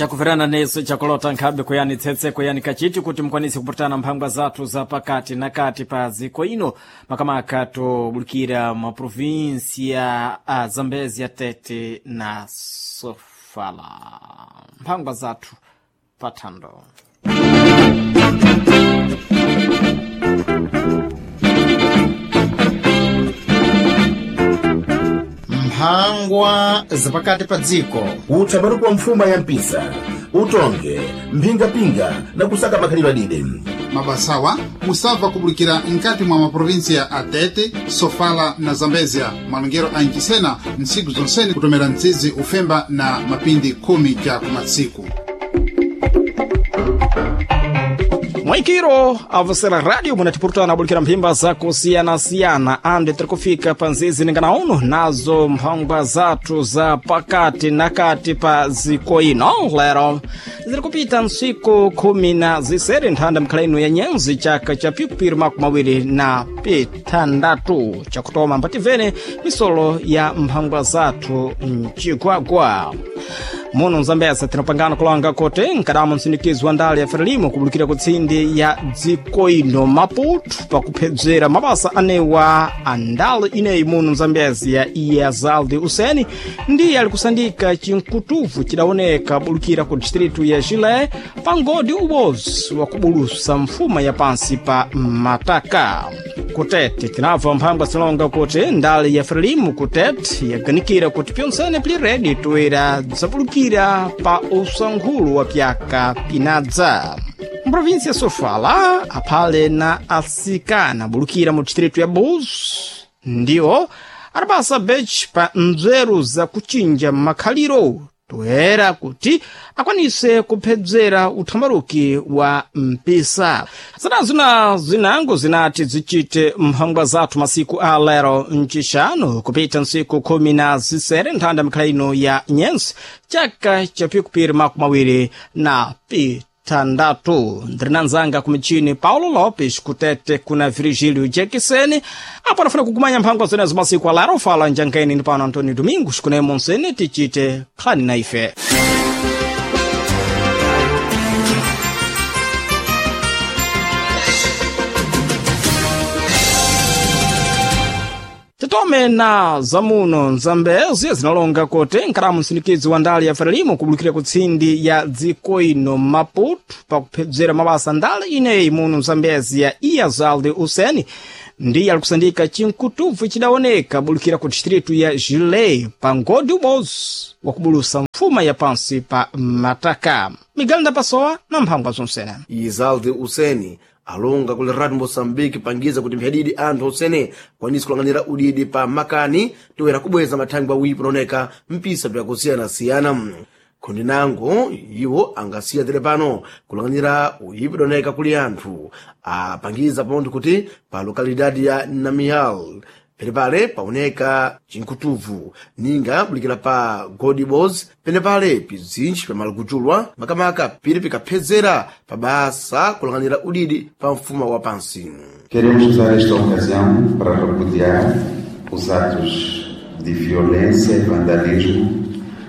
Chakuverana nesu chakulota nkhabe kuyani tsetse kuyani kachiti kuti mukwanise kupatana mphangwa zathu za pakati na kati pa dziko ino, makamaka tobulukira ma provinsia a Zambezia, Tete na Sofala. Mphangwa zathu pathando. Mphangwa zapakati pa dziko. Uthambaruko wa mfuma ya mpisa, utonge mphingapinga na kusaka makhalidwe adide. Mabasawa musabva kubulikira nkati mwa maprovinsia a Tete, Sofala na Zambezia, malongero a Ncisena ntsiku zonsene kutomera mtsizi ufemba na mapindi khumi ca kumatsiku. Mwaikiro avosera radio munatipurutana abulikira mphimba zakusiyana-siyana ande tiri kufika pa nzizi ningana uno nazo mphangwa zathu za pakati na kati pa ziko ino. Lero ziri kupita ntsiku 16 nthanda mkhala ino ya nyenzi chaka cha pikupiri 2026 chakutoma mbativene misolo ya mphangwa zathu mchigwagwa muno mzambeza. Tinapangana kulanga kuti nkadamo msindikizi wa ndale ya Frelimo kubulukira kutsindi ya dziko ino Maputo pakuphedzera mabasa anewa a ndale ineyi muno mzambezi ya Iyazaldi Useni, ndiye ali kusandika chinkutuvu chidaoneka bulukira ku distritu ya Chile pa ngodi ubozi wa kubulusa mfuma ya pansi pa mataka. Kutete tinabva mphangwa zilonga kuti ndale ya Frelimo kutete yaganikira kuti pyonsene pili redi toera dzapulukira pa usankhulu wa pyaka pinadza. Mprovinsi ya Sofala aphale na asikana bulukira mu distritu ya Buzi ndiwo adapasa bechi pa nzeru za kuchinja makhaliro toera kuti akwanise kuphedzera uthambaruki wa mpisa. Zinazo na zinango zinati zichite mphangwa zathu masiku a lero mcixanu kupita ntsiku 16 nthanda mikhala ino ya nyensi chaka cha pikupiri 2026. Ndiri ku michini Paulo Lopes, kutete kuna Virgílio Jackson apo anafuna kukumanya mphangwa zenezo masiku alaro. Fala njangaini ndi pano Antônio Domingos kunemo nsene tichite nkhani na ife. Titome na zamuno nzambezi zinalonga kuti nkalamu msindikizi wa ndale ya Frelimo kubulukira kutsindi ya dziko ino Maputo pakuphedzera mabasa ndale ineyi muno mzambezi ya Iyazalde Useni, ndiye alikusandika chinkutuvu chidaoneka bulukira ku distritu ya Gilei pa ngodi ubozi wakubulusa mfuma ya pansi pa mataka. Miguel Ndapasowa na mphangwa zonsene. Izalde Useni alonga kuli Radio Moçambique pangiza kuti mphadidi anthu osene kwanisi kulang'anira udidi pa makani toera kubweza mathangwi awipo unaoneka mpisa byakusiyana-siyana. Khundi nango iwo angasiya tere pano kulang'anira uyipi udaoneka kuli anthu apangiza pontho kuti pa lokalidade ya Namial penepale paoneka chinkutuvu ninga bulikira pa Godibos, penepale pizinji pamalakuchulwa makamaka pili pikaphedzera pa basa kulang'anira udidi pa mfuma wa pansi. Queremos usar esta ocasião para repudiar os atos de violência e vandalismo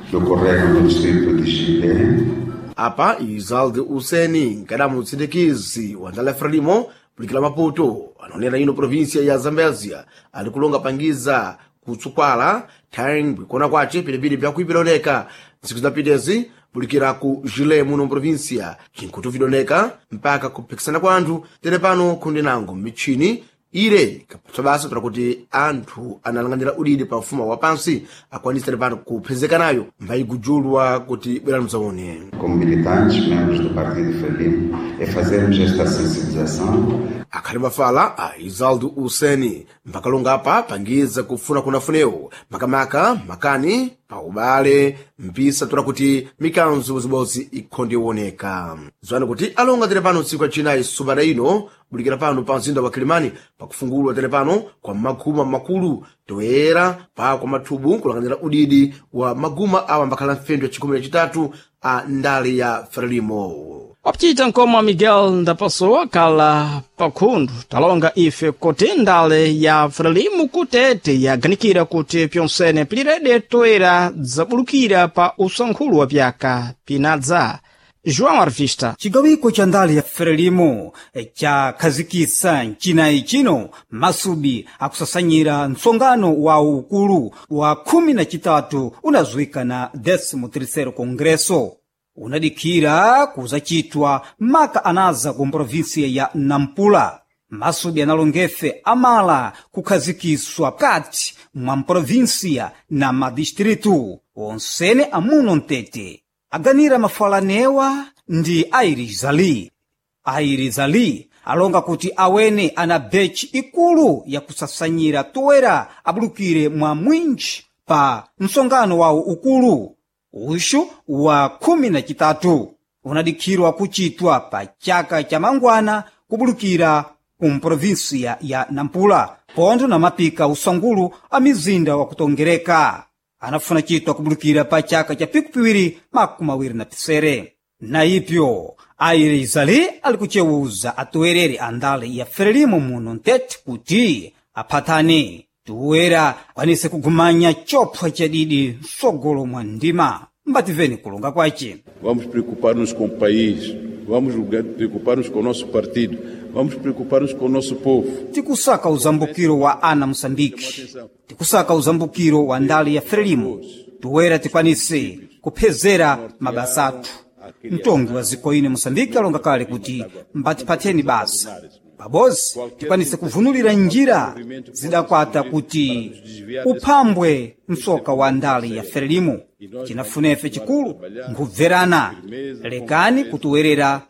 que ocorreram no distrito de Chile. Apa Izalde Useni nkadamu mtsindikizi wa ndala ya Frelimo bulikira Maputo anaonera ino provinsia ya Zambezia ali kulonga pangiza kutsukwala thangwi kuona kwace pilipili byakuipiloneka ntsiku zapitezi bulikira ku Jile muno provinsia chinkutu vidoneka mpaka kuphikisana kwa anthu tere pano khundi nango mitchini ire kapatsa basa tola kuti anthu analang'anira udidi pa mfumo wa pansi akwanise tere pano kuphezekanayo mbayigujulwa kuti bwerani mzaone. Como militantes, membros do Partido Frelimo, é fazermos esta sensibilização. Akhali mafala a Izaldo Useni mpakalonga apa pangiza kufuna kunafunewo makamaka makani pa ubale mpisa tola kuti mikanzo zibodzi ikhonde iwoneka. Zwani kuti alonga tere pano tsiku lacinayi subata ino. Bulikira pano pa mzinda wa Kilimani pakufungulwa tere pano kwa maguma makulu toyera pa kwa mathubu kulang'anira udidi wa maguma awa ambakhala mfendo ya chikhumi na chitatu a ndale ya Frelimo. Wapchita nkoma Miguel Ndapasowa kala pakhundu talonga ife kuti ndale ya Frelimo kutete yaganikira kuti pyonsene pilirede toera dzabulukira pa usankhulu wa pyaka pinadza. João Arvista. Cigawiko ca ndale ya Frelimo cakhazikitsa mcinayi cino masubi akusasanyira mtsongano wa ukulu wa 13 unazuwika na 13º Congresso unadikhira kuzacitwa maka anaza ku provinsia ya Nampula. Masubi analongefe amala kukhazikiswa kati mwa mprovinsia na madistritu onsene amuno mtete aganira mafalanewa ndi airizali. Airizali alonga kuti awene ana bechi ikulu yakusasanyira toera abulukire mwa mwinji pa msongano wawo ukulu uxu wa 13 unadikhirwa kuchitwa pa chaka cha mangwana kubulukira ku mprovinsia ya Nampula pontho na mapika usangulu a mizinda wa kutongereka anafuna chitwa kubulukira pa chaka cha pikupiwiri makumi awiri na pisere. Na ipyo airizali ali kucewuza atowereri a ndale ya Frelimo muno ntete kuti aphatane toera akwanise kugumanya chopwa chadidi msogolo mwa ndima. Mbativeni kulonga kwace. Vamos preocupar-nos com o país, vamos preocupar-nos com o nosso partido, vamos preocupar-nos com o nosso povo. Tikusaka uzambukiro wa ana Moçambique, tikusaka uzambukiro wa ndale ya Frelimo, toera tikwanise kuphezera mabasa athu. Mtongi wa zikoine Moçambique alonga kale kuti mbatiphatheni basa pabozi tikwanise kuvunulira njira zidakwata kuti uphambwe msoka wa ndale ya Frelimo. Cinafunefe chikulu nkubverana, lekani kutiwerera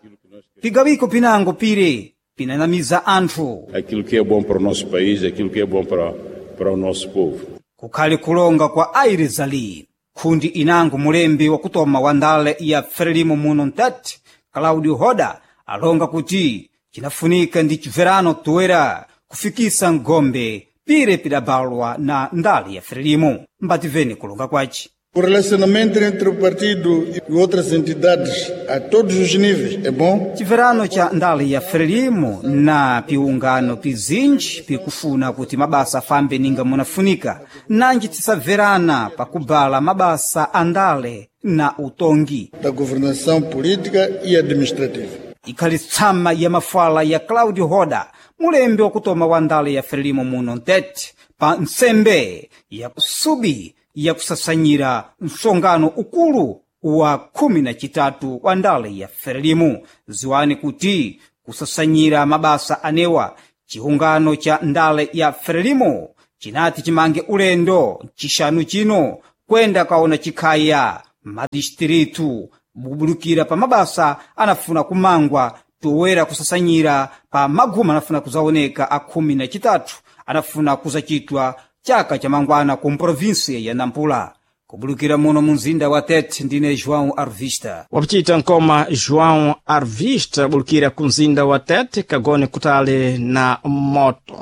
pigawiko pinango pire pinanamiza anthu. Aquilo que é bom para o nosso país, aquilo que é bom para o nosso povo. Kukhali kulonga kwa airizali khundi inango mulembi wakutoma wa ndale ya Frelimo muno mtati Claudio Hoda alonga kuti cinafunika ndi chibverano toera kufikisa ngombe pire pidabalwa na ndale ya Frelimo. Mbativeni kulonga kwaci. O relacionamento entre o partido e outras entidades a todos os níveis é bom. Chibverano cha ndale ya Frelimo na piungano pizinji pikufuna kuti mabasa afambe ninga munafunika, nanji tisabverana pakubala mabasa a ndale na utongi da governação política e administrativa. Ikhali tsama ya mafala ya Claudio Hoda, mulembi wakutoma wa ndale ya Frelimo muno ntete pa ntsembe ya subi yakusasanyira msongano ukulu wa 13 wa ndale ya Frelimo. Ziwani kuti kusasanyira mabasa anewa chiungano cha ndale ya Frelimo chinati chimange ulendo chixanu chino kwenda kaona chikhaya madistritu bubulukira pa mabasa anafuna kumangwa toera kusasanyira pa maguma anafuna kuzaoneka a 13 anafuna kuzacitwa chaka cha mangwana ku provinsia ya Nampula. Kubulukira muno mu mzinda wa Tete, ndine João Arvista. Wapchita nkoma João Arvista bulukira ku mzinda wa Tete kagone kutali na moto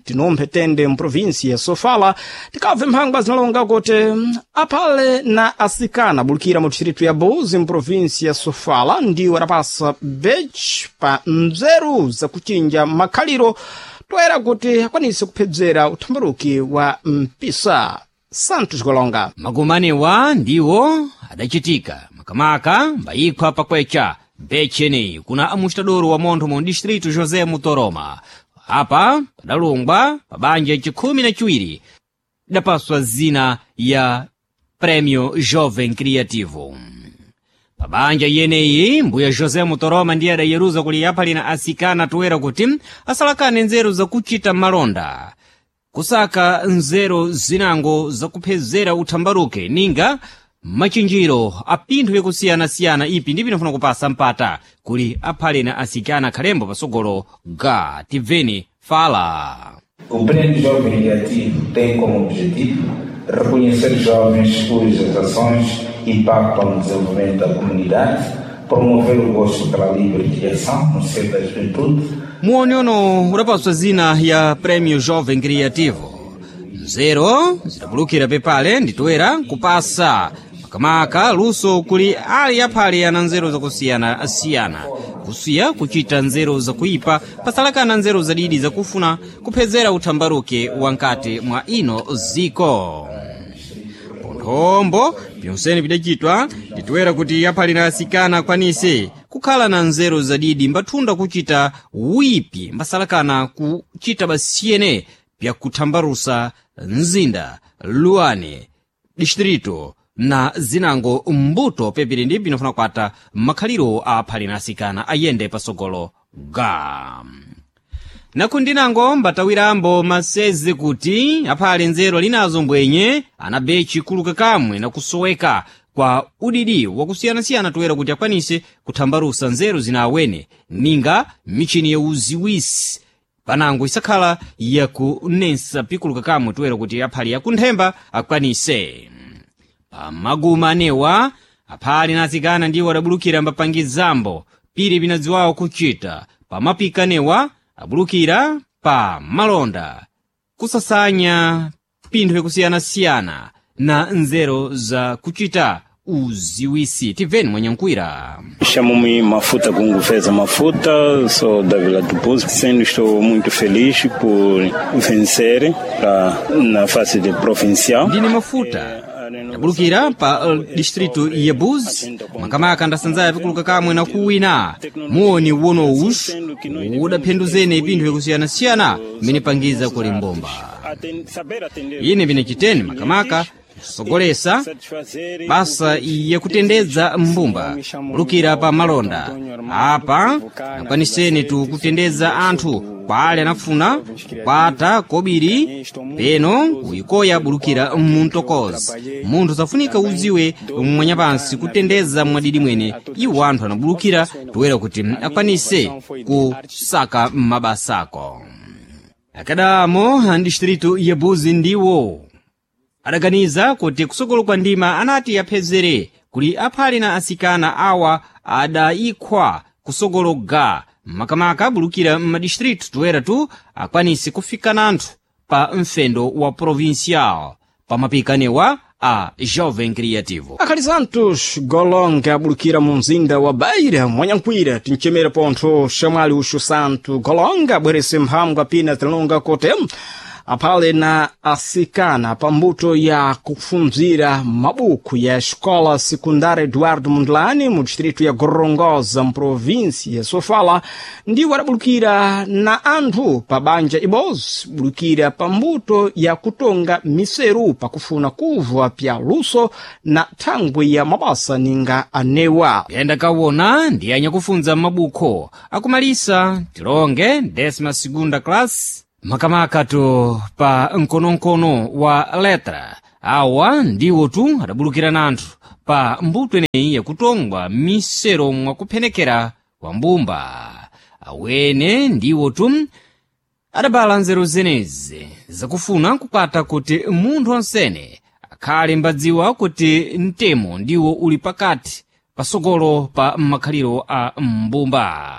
tinumphe tende mprovinsi ya Sofala tikabve mphangwa zinalonga kuti aphale na asikana bulukira mu distritu ya Buzi mprovinsi ya Sofala ndiwo adapasa bechi pa nzeru zakuchinja makhaliro toera kuti akwanise kuphedzera uthambaruki wa mpisa. Santos Golonga. Magumanewa ndiwo adacitika makamaka mbayikhwa pakwecha becheni kuna amustadoro wa montho mu distrito José Mutoroma. Apa padalungwa pa banja chikhumi na chiwiri idapaswa zina ya Prêmio Jovem Criativo. Pa banja yeneyi mbuya José Mutoroma ndiye adayeruza kuli yaphalina asikana toera kuti asalakane nzeru zakuchita malonda, kusaka nzeru zinango zakuphezera uthambaruke ninga machinjiro a pinthu yakusiyanasiyana ipi ndi pinafuna kupasa mpata kuli aphalena asikana khalembo pasogolo ga tibveni fala. O Prêmio Jovem Criativo tem como objetivo reconhecer jovens cujas ações impactam no desenvolvimento da comunidade, promover o gosto pela livre criação no seio da juventude, Muoniono udapaswa zina ya Prêmio Jovem Criativo. Nzeru zidabulukira pepale nditoera kupasa makamaka luso kuli ali aphale ana nzeru zakusiyana-siyana, kusiya kuchita nzeru zakuipa pasalakana nzeru zadidi zakufuna kuphezera uthambaruke wankati mwa ino ziko. Ponthombo pyonsene pidachitwa nditoera kuti aphale na asikana akwanise kukhala na nzeru zadidi mbathunda kuchita wipi mbasalakana kuchita basiyene pyakuthambarusa mzinda luane distrito na zinango mbuto pepiri ndi pinofuna kwata makhaliro a aphale na asikana ayende pasogolo ga. Nakundinango mbatawirambo maseze kuti aphale nzeru alinazo mbwenye anabe chikuluka kamwe nakusoweka kwa udidi wakusiyanasiyana toera kuti akwanise kuthambarusa nzeru zina awene ninga michini ya uziwisi panango isakhala yakunensa pikuluka kamwe toera kuti aphale yakunthemba akwanise. Pamaguma anewa aphale na atsikana ndiwo adabulukira mbapangizambo piri pinadziwawo kuchita pamapika anewa abulukira pa malonda kusasanya pinthu yakusiyanasiyana na nzeru za kuchita uziwisi. Tibveni mwanyankwira. Chamo-me Mafuta Gunguveza Mafuta, sou da Vila do Pouso. Sendo estou muito feliz por vencer na fase de provincial. Ndine Mafuta ndabulukira pa distrito ya Buzi, makamaka ndasanzaya pikuluka kamwe na kuwina muoni wono uxu udaphenduzene pinthu yakusiyanasiyana mmene pangiza kuli mbomba. Ine pinachiteni makamaka sogolesa basa yakutendedza mbumba bulukira pa malonda apa akwaniseni tu kutendedza anthu kwa ali anafuna kukwata kobiri peno kuyikoya bulukira muntokozi. Munthu safunika udziwe mwanyapansi kutendedza mwadidi mwene iwo anthu anabulukira toera kuti akwanise kusaka mabasako. Akadamo a distrito ya Buzi ndiwo adaganiza kuti kusogolo kwa ndima anati aphezere kuli aphale na asikana awa adayikhwa kusogolo ga makamaka abulukira m'madistritu toera tu akwanise kufika nanthu pa mfendo wa provincial pamapikanewa a Jovem Criativo. Akhali Santos Golonga abulukira mu mzinda wa Beira mwanyankwira tinchemera pontho xamwali uxu Santo Golonga abwerese mphambwa pina tinalonga kote aphale na asikana pambuto ya kufunzira mabuku ya Escola Secundária Eduardo Mondlane mu distrito ya Gorongosa mprovinsi ya Sofala ndiwo adabulukira na anthu pa banja ibozi bulukira pambuto ya kutonga miseru pakufuna kuvwa pya luso na thangwi ya mabasa ninga anewa. Yenda kawona ndi anyakufunza mabukho akumalisa tilonge décima segunda classe makamaka tu pa mkonomkono wa letra. Awa ndiwo tu adabulukira nanthu pa mbuto ineyi yakutongwa misero mwakuphenekera kwa mbumba. Awene ndiwo tu adabala nzeru zenezi zakufuna kukwata kuti munthu onsene akhale mbadziwa kuti mtemo ndiwo uli pakati pasogolo pa makhaliro a mbumba.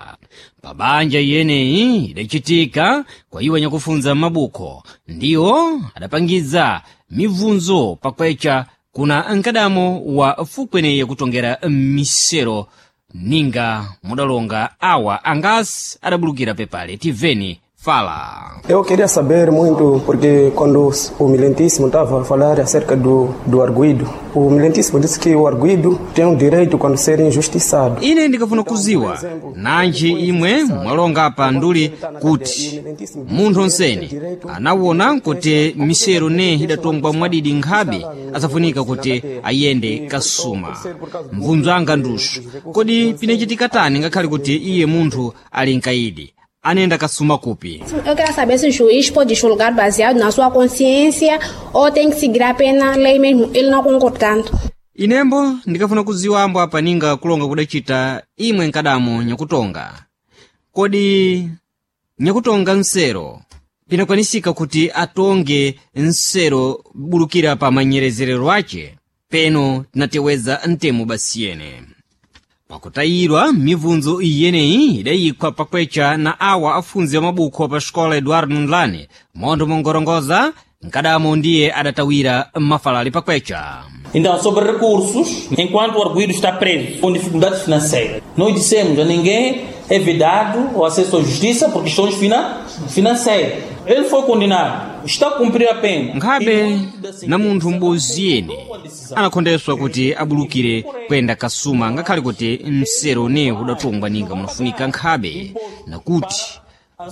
Pabanja iyeneyi idachitika kwa iwo anyakufunza mabukho ndiwo adapangiza mibvunzo pakwecha kuna mkadamo wa fukweneyi yakutongera misero ninga mudalonga awa angasi adabulukira pepale. Tiveni fala. Eu queria saber muito, porque quando o Milentíssimo estava a falar acerca do arguido, o Milentíssimo disse que o arguido tem o direito quando ser injustiçado. Ine ndikafuna kuziwa nanji imwe mwalonga pa nduli kuti munthu onsene anawona kuti misero ne idatongwa mwadidi nkhabe asafunika kuti ayende kasuma. Mvunzo anga nduxu kodi pinachitika tani ngakhale kuti iye munthu ali nkaidi anenda kasuma kupi? Eu quero saber se o juiz pode julgar baseado na sua consciência ou tem que seguir apenas a lei mesmo, ele não concordando. Inembo ndikafuna kudziwa ambo apa ninga kulonga kudacita imwe nkadamo nyakutonga. Kodi nyakutonga nsero pinakwanisika kuti atonge nsero bulukira pa manyerezerero ace peno tinateweza mtemo basiyene. Pakutayirwa mibvunzo iyeneyi idayikwa pakwecha na awa afunzi amabukho pa xikola Eduardo Mondlane montho mongorongoza nkadamo ndiye adatawira mafalali pakwecha. Então, sobre recursos, enquanto o arguido está preso com dificuldades financeiras, nós dissemos a ninguém é vedado o acesso à justiça por questões financeiras. Ele foi condenado, está a cumprir a pena. Nkhabe na munthu m'bodzi yene anakhondeswa kuti abulukire kuyenda kasuma ngakhale kuti msero ne udatongwa ninga munafunika nkhabe nakuti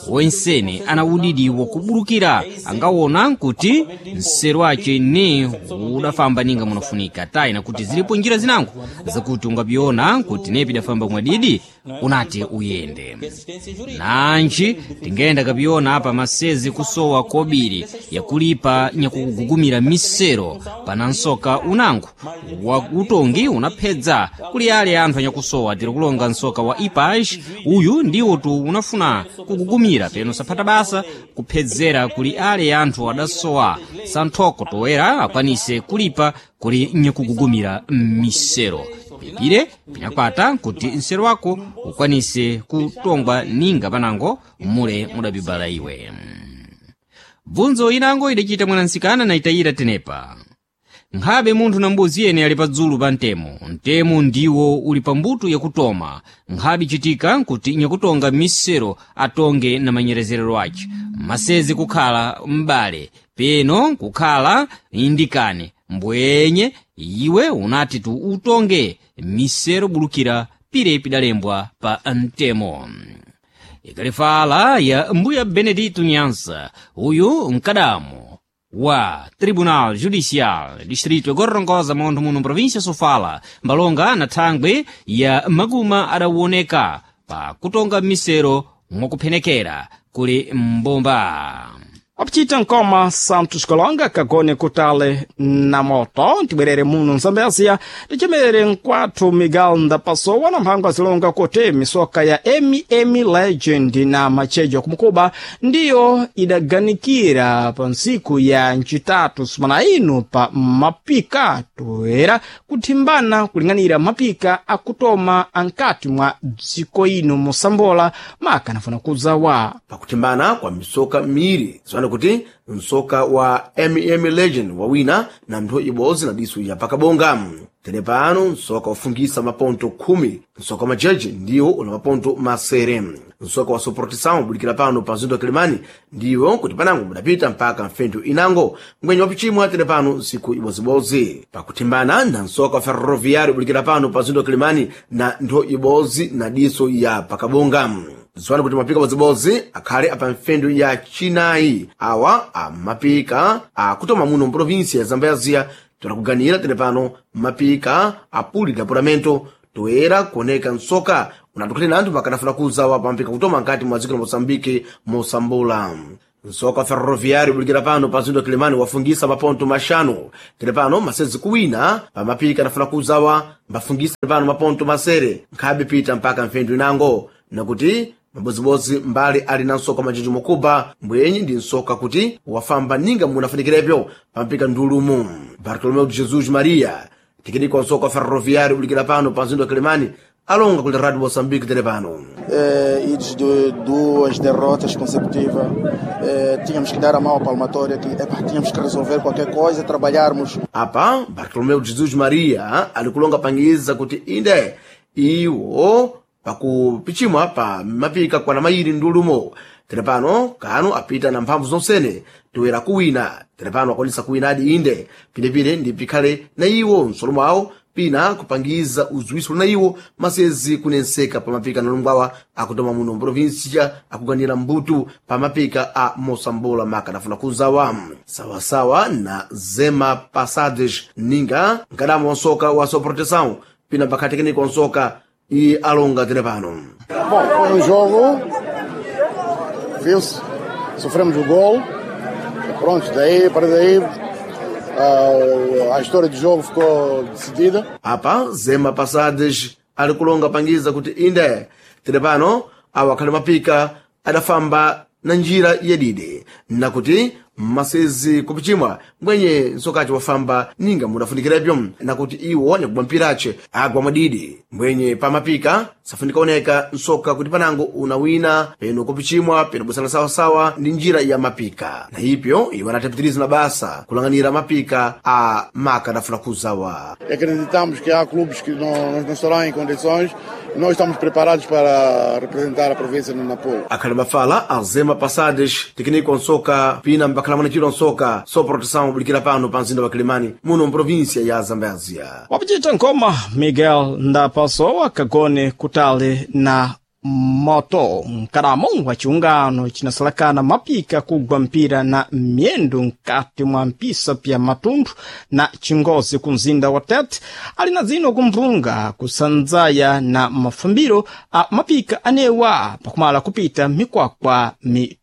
wensene ana udidi wakubulukira angawona kuti msero ace ne udafamba ninga munafunika tayi nakuti zilipo njira zinango zakuti ungapiona kuti nepi idafamba mwadidi unati uyende nanji tingayenda kapiona apa masezi kusowa kobiri yakulipa nyakugugumira misero pana nsoka unango wa utongi unaphedza kuli ale anthu anyakusowa tiri kulonga nsoka wa ipaj uyu ndiwo tu unafuna kugugumira peno saphata basa kuphedzera kuli ale anthu adasowa santhoko toera akwanise kulipa kuli nyakugugumira misero pipire pinakwata kuti msero wako ukwanise kutongwa ninga panango mule mudabibala iwe. Bvunzo inango idachita mwanansikana na itayira tenepa. Nkhabe munthu na mbuzi yene ali padzulu pa mtemo. Mtemo ndiwo uli pa mbuto yakutoma. Nkhabe ichitika kuti nyakutonga misero atonge na manyerezerero ace. Masezi kukhala m'bale, peno kukhala indikane. Mbwenye iwe unati tu utonge misero bulukira pire pidalembwa pa mtemo. Ikalifala ya mbuya Benedito Nyansa, uyu mkadamo wa Tribunal Judicial Distrito Gorongosa montho muno província Sofala mbalonga na thangwe ya maguma adawoneka pa kutonga misero mwakuphenekera kuli mbomba. Wapachita nkoma Santos Kolonga kagone kutale na moto tibwerere muno Mzambezia tichemerere nkwathu Miguel Ndapasowa na mphango azilonga kuti misoka ya MM Legend na machejo kumukuba ndiyo idaganikira pa ntsiku ya ncitatu sumana ino pa mapika toera kuthimbana kuling'anira mapika akutoma ankati mwa dziko ino mosambola maka anafuna kuzawa pakuthimbana kwa misoka miiri ziwana kuti msoka wa mm legend wawina na ntho ibodzi na diso ya pakabonga. Tere pano msoka wafungisa maponto 10, msoka wa majeje ndiwo una maponto masere. Msoka wa Soportição ubulikira pano pa mzinda wa Kilimani ndiwo kuti panango budapita mpaka mfentu inango ngwenye wapichimwa tere pano nsiku ibozibodzi. Pakuthimbana na msoka wa Ferroviário ubulikira pano pa mzinda wa Kilimani na ntho ibodzi na diso ya pakabonga. Ziwani kuti mapika bodzibodzi akhale apa mfendu ya chinayi awa amapika akutoma muno mprovinsia ya Zambezia toera tere pano mapika apuli dapuramento toera kuoneka msoka unatukhulira anthu pakanafuna kuzawa pamapika kutoma nkati mwa dziko la Moçambique mosambula. Msoka wa Ferroviário ubulikira pano pa mzinda wa Kilimani wafungisa maponto maxanu tere pano masezi kuwina pamapika anafuna kuzawa mbafungisa pano maponto masere nkhabe pita mpaka mfendu inango nakuti mabodzibodzi mbali ali na msoka majeji mukuba mbwenyi ndi msoka kuti wafamba ninga munafunikirepo pampika ndulumu. Bartolomeu de Jesus Maria tikidikwa msoka wa Ferroviário ubulikira pano pa mzinda wa Kilimani alonga kuli Radio Moçambique tere pano. Idos de duas derrotas consecutivas, tínhamos que dar a mão à palmatória, que tínhamos que resolver qualquer coisa, trabalharmos. Apa Bartolomeu de Jesus Maria ali kulonga pangiza kuti inde iwo pakupichimwa pa mapika kwana mayiri ndulumo tere pano kanu apita na mphamvu zonsene toera kuwina tere pano akwanisa kuwinadi inde pinepine ndi pikhale na iwo msolo mwawo pina kupangiza uziwiso na iwo masezi kunenseka pa mapika nalungwawa akutoma muno mprovinsia akuganira mbutu pa mapika a mosambola maka anafuna kuzawa sawasawa na zema pasades ninga nkadamo wa nsoka wa soproteção pina pakhatekeniko wa nsoka e alonga tere pano. Bom, foi jogo, viu-se, sofremos o gol, pronto, daí para daí a história do jogo ficou decidida. Apa zema pasades ali kulonga pangiza kuti inde tere pano awa akhali mapika adafamba na njira yadidi nakuti Mmasezi kupichimwa mwenye nsokaci wafamba ninga mudafunikirepyo nakuti iwo nyakugwa mpirace agwa mwadidi mwenye pamapika safunika oneka nsoka kuti panango unawina peno kupichimwa peno busana sawasawa ndi njira ya mapika na ipyo iwo anatapitiriza na basa kulang'anira mapika a maka adafuna kuzawa. Acreditamos que há clubes que não estarão em condições. Nós estamos preparados para representar a província no Nampula. Akhali mafala azema pasades tekniko nsoka pina mbakhala mwanachiro nsoka so proteção obulikira pano pa mzinda wa Kilimani muno mprovinsia ya Zambezia. Wapachita nkoma Miguel Ndapasowa kagone kutali na moto mkalamo wa chiungano chinasalakana mapika kugwa mpira na myendo nkati mwa mpisa pya Matundu na Chingozi ku mzinda wa Tete ali na dzino kumvunga kusanzaya na mafumbiro a mapika anewa pakumala kupita mikwakwa mitatu.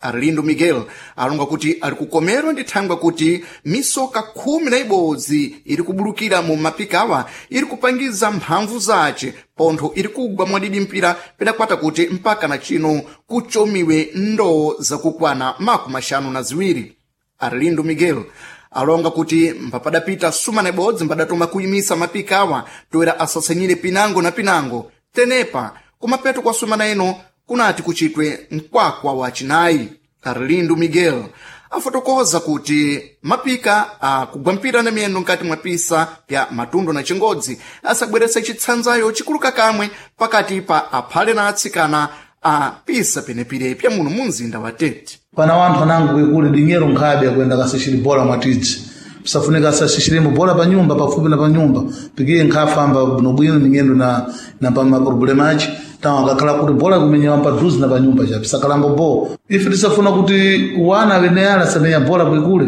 Arlindo Miguel alonga kuti ali kukomerwa ndi thangwe kuti misoka 11 iri kubulukira mu mapikawa iri kupangiza mphamvu zace pontho iri kugwa mwadidi mpira pedakwata kuti mpaka na chino kuchomiwe ndoo zakukwana 52. Arlindo Miguel alonga kuti mpapadapita sumana ibodzi mbadatoma kuyimisa mapikawa toera asasanyire pinango na pinango tenepa kumapeto kwa sumana ino kunati kuchitwe mkwakwa wa chinayi. Arlindo Miguel afotokoza kuti mapika akugwa mpira na miyendo nkati mwa pisa pya Matundu na Chingodzi asabweresa chitsanzayo chikuluka kamwe pakati pa aphale na atsikana a pisa penepire pya muno mu mzinda wa Tete. Pana wanthu anango kwekuli dinyero nkhabe akuyenda kasishiri bola mwatidzi pisafunika asasishirimbo bola pa nyumba pafupi na pa nyumba pikiye nkhafamba bwinobwino mingendo na pa maproblema aci tawo akakhala kuti bola kumenyewa padhuze na pa nyumba cha pisakalambo bo ife tisafuna kuti wana wene ala samenya bola kwekule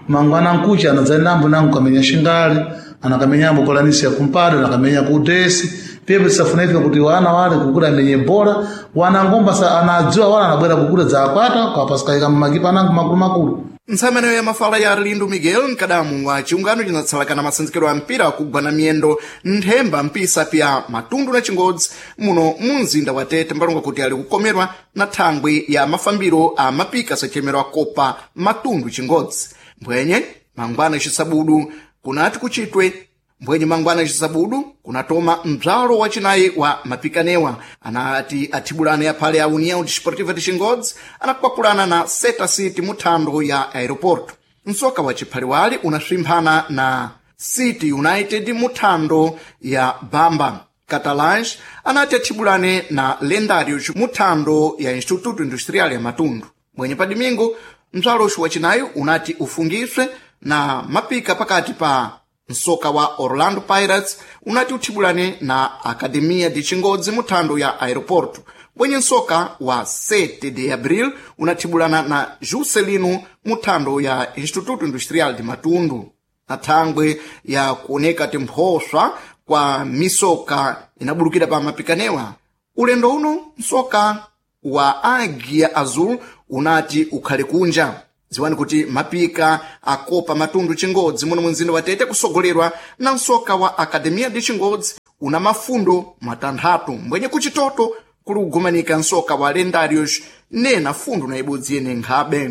mangwana nkucha anadzayendambo nango kamenya shingali anakamenyambo kolanisi ya kumpado anakamenya kudesi pyepo tisafuna ife kuti wana wale kukula amenye bola wana ngomba sa anadziwa wala anabwera kukula dzakwata kwapasikaika mmakipa anango makulumakulu. Ntsamanayo ya mafala ya Arlindo Miguel mkadamu wa chiungano cinatsalakana masenzekero a mpira akugwa na miyendo nthemba mpisa pya Matundu na Chingodzi muno mu mzinda wa Tete mbalonga kuti ali kukomerwa na thangwi ya mafambiro a mapika sachemero a Kopa Matundu Chingodzi mbwenye mangwana cisabudu kunati kuchitwe mbwenye mangwana cisabudu kunatoma mbzalo wacinayi wa mapikanewa anati athibulane aphale a União Desportiva de Chingodzi anakwakulana na Seta City mu thando ya aeroporto. Msoka wa chiphaliwali unaswimphana na City United mu thando ya Bamba. Catalães anati athibulane na Lendários mu thando ya Instituto Industrial ya Matundu. Mwenye pa domingo mbzaloxu wacinayi unati ufungiswe na mapika pakati pa msoka wa Orlando Pirates unati uthibulane na Academia de Chingodzi mu thando ya aeroporto bwenye msoka wa 7 de Abril unathibulana na Juscelino mu thando ya Instituto Industrial de Matundu. Na thangwe ya kuoneka timphoswa kwa misoka inabulukira pa mapikanewa ulendo uno msoka wa Águia Azul unati ukhale kunja. Ziwani kuti mapika akopa Matundu Chingodzi muno mumzinda wa Tete kusogolerwa na msoka wa Academia de Chingodzi una mafundo matanthatu mbwenye kuchitoto kuli kugumanika msoka wa Lendários nena fundo na ibodzi yene nkhabe.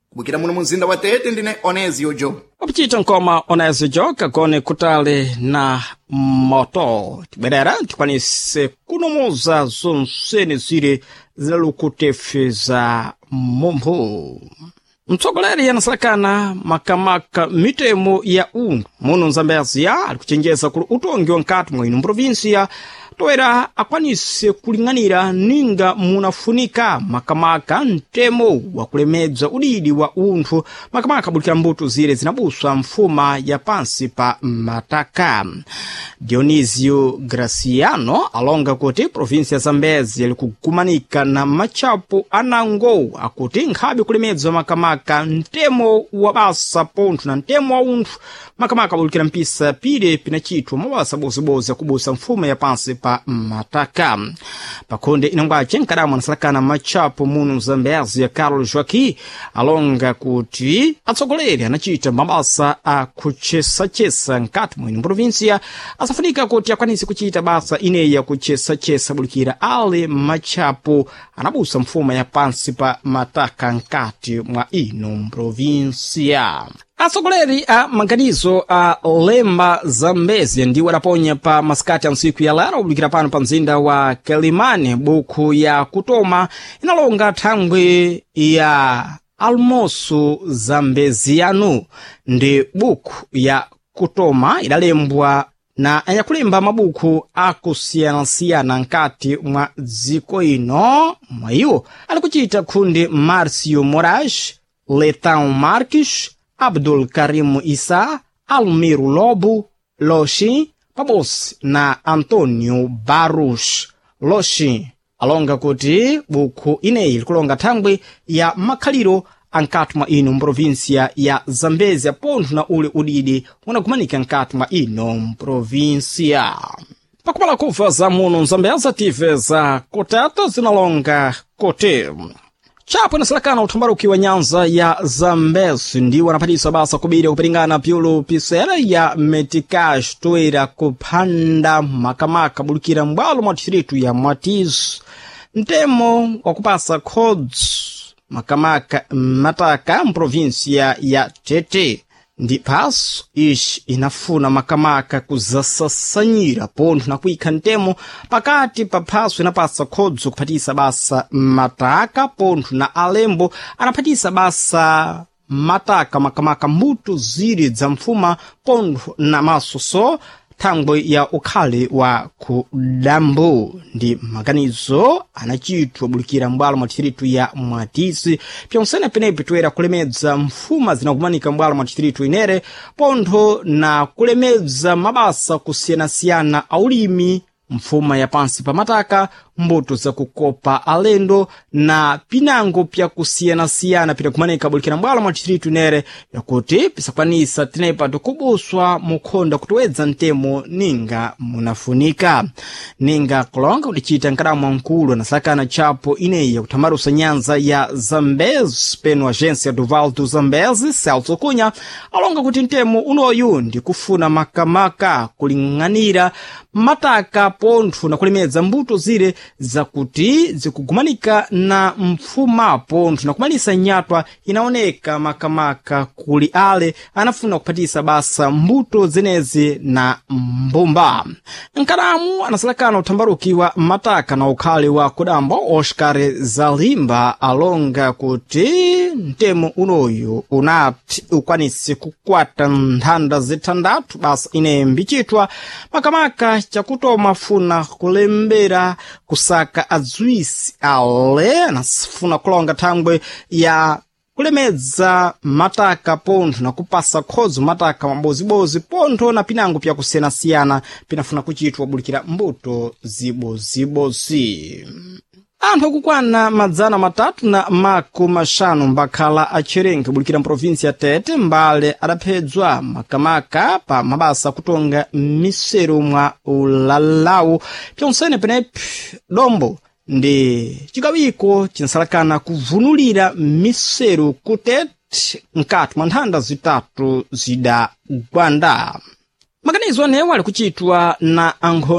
Kubukira muno mumzinda wa Tete ndine Onezio Job. Wapachita nkoma Onezio Job kagone kutali na moto tibwerera tikwanise kunomoza zonsene zire zilalukutefe za mumphu. Mtsogoleri anasalakana makamaka mitemo ya ungu muno Nzambezia ali kuchenjeza kuli utongi wa nkati mwa ino mprovinsia toera akwanise kuling'anira ninga munafunika makamaka mtemo wa kulemedza udidi wa unthu makamaka abulikira mbuto zire zinabuswa mfuma ya pansi pa mataka. Dionisio Graciano alonga kuti provinsi ya Zambezi ili kugumanika na matchapo anango akuti nkhabe kulemedzwa makamaka mtemo wa basa pontho na mtemo wa unthu makamaka abulikira mpisa pile pinachitwa mabasa bozibozi akubusa mfuma ya pansi pa pa mataka. Pakhonde inangwace nkadamo anasalakana matchapo muno Zambezi ya Carlos Joaquim alonga kuti atsogoleri anachita mabasa a kuchesachesa nkati mwino provinsia asafunika kuti akwanise kuchita basa ineyi yakuchesachesa bulikira ale matchapo anabusa mfuma ya pansi pa mataka nkati mwa ino provinsia. Atsogoleri a maganizo a Lemba Zambezi ndiwo adaponya pa masikati a ntsiku ya lero kubulikira pano pa mzinda wa Quelimane buku ya kutoma inalonga thangwi ya Almoço Zambeziano ndi buku ya kutoma idalembwa na anyakulemba mabuku akusiyanasiyana nkati mwa dziko ino. Mwa iwo ali kuchita khundi Márcio Moraes, Letão Marques, Abdul Karim Issa, Almiro Lobo, Loxi, pabodzi na Antônio Barros. Loxi alonga kuti bukhu ineyi likulonga thangwi ya makhaliro ankati mwa ino mprovinsia ya Zambezia pontho na ule udidi unakumanika nkati mwa ino mprovinsia. Pakumala kuva za muno Zambezia tive za kutata zinalonga kuti chapo inasalakana uthambaruki wa nyanza ya Zambezi ndiwo anaphatisa basa kubiri kupiringana pyulu pisera ya metikash toera kuphanda makamaka bulikira m'bwalo mwa distritu ya Mwatizo mtemo wakupasa khodzi makamaka mataka mprovinsia ya Tete ndi phaso ixi inafuna makamaka kuzasasanyira pontho na kuyikha mtemo pakati pa phaso inapasa khodzo kuphatisa basa mataka pontho na alembo anaphatisa basa mataka makamaka mbuto ziri za mfuma pontho na masoso thangwe ya ukhale wa kudambo ndi maganizo anachitwa bulikira m'bwalo mwa distritu ya Mwatisi pyonsene penepi toera kulemedza mfuma zinakumanika m'bwalo mwa distritu inere pontho na kulemedza mabasa kusiyanasiyana aulimi mfuma ya pansi pa mataka mbuto zakukopa alendo na pinango pyakusiyanasiyana pinakumanika bulikira m'bwalo mwa distritu inere yakuti pisakwanisa tenepa tikubuswa mukhonda kutowedza mtemo ninga munafunika ninga kulonga kudichita nkadamu mkulu anasakana tchapo ineyi yakuthamarusa nyanza ya Zambezi peno agência do Vale do Zambezi Celso Cunha alonga kuti mtemo unoyu ndikufuna makamaka kuling'anira mataka pontho na kulemedza mbuto zire zakuti zikugumanika na mfuma pontho na kumalisa nyatwa inaoneka makamaka kuli ale anafuna kuphatisa basa mbuto zenezi na mbumba. Nkadamu anasalakana uthambaruki wa mataka na ukhale wa kudambo Oscar Zalimba alonga kuti mtemo unoyu unati ukwanise kukwata nthanda zithandathu basa ine mbichitwa makamaka chakutoma funa kulembera kusaka adziwisi ale anafuna kulonga thangwe ya kulemedza mataka pontho na kupasa khodzo mataka mabozibozi pontho na pinango pyakusiyanasiyana pinafuna kuchitwa bulikira mbuto zibozibozi. Anthu akukwana 350 mbakhala atcherenke bulikira mprovinsi ya Tete mbale adaphedzwa makamaka pa mabasa akutonga miseru mwa ulalawu pyonsene penepi dombo ndi chikawiko chinsalakana kuvunulira miseru ku Tete mkati mwa nthanda zitatu zidagwanda. Maganizo anewo ali kuchitwa na ankhondo.